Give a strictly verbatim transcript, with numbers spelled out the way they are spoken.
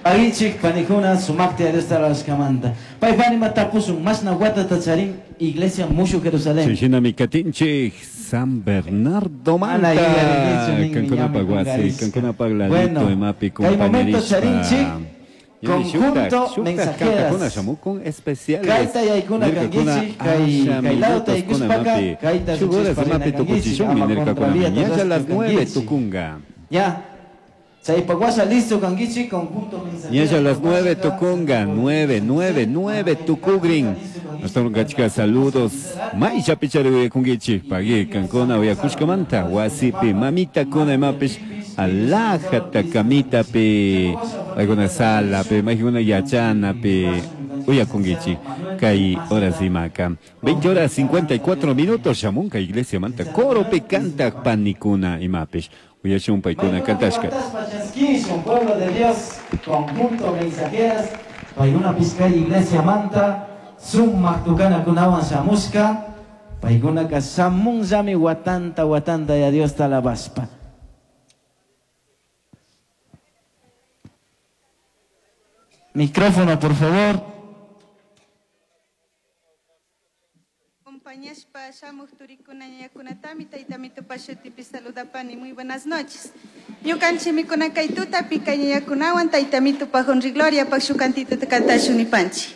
Pagichik panikuna sumakti Diosta alabashkamanta. Pay panima tapusun mashna watata charin Iglesia Mushu Jerusalén. Shinami katinchik San Bernardo Mana manta. yuyarinichu ninmi, Kankunapaq ñami wasi, kungarishka. kankunapaq ladito Bueno, imapi kay momento compañerishpa. charinchik Ñami shuktak, conjunto shuktak mensajeras. kantakuna shamukun especiales. Kayta yaykuna Nirkakuna kankichik, kay asha kay lado minutos yaykushpaka, kuna mapi. kayta Shuk horas riksishpa imapi rina kankichik, tukuchishunmi ama nirkakuna. contravía Ñalla las nueve kankichik. tukunga. Ya. Chaypa washa listo kankichik, conjunto mensajeras. Ñalla las nueve tukunga, nueve, nueve, nueve tukugrin. Hasta kachka saludos. Maisha pichari uyakunkichik, pagui kankuna uyakushkamanta, wasipi, mamita kuna imapish, alajata kamitapi, alguna sala pe, majuna yachana pe, uyakunkichik, kay horas imaka. veinte horas cincuenta y cuatro minutos, shamunka iglesia manta, coro pe canta panikuna imapish. Uyashun paykuna kantashka. Chaskishun, pueblo de Dios, conjunto mensajeras, paykuna pishkay iglesia manta, sumak tukana kunawan shamushka, paykunaka shamunllami watanta watanta ya Dios alabashpa. Micrófono, por favor. Compañashpa shamuj turikuna ñañakunatami taytami tupashutipi saludapani. Muy buenas noches. Ñukanchik mikuna kay tutapi kay ñañakunawan taytami tupajun Gloria pak shukantito kantashun nipanchik.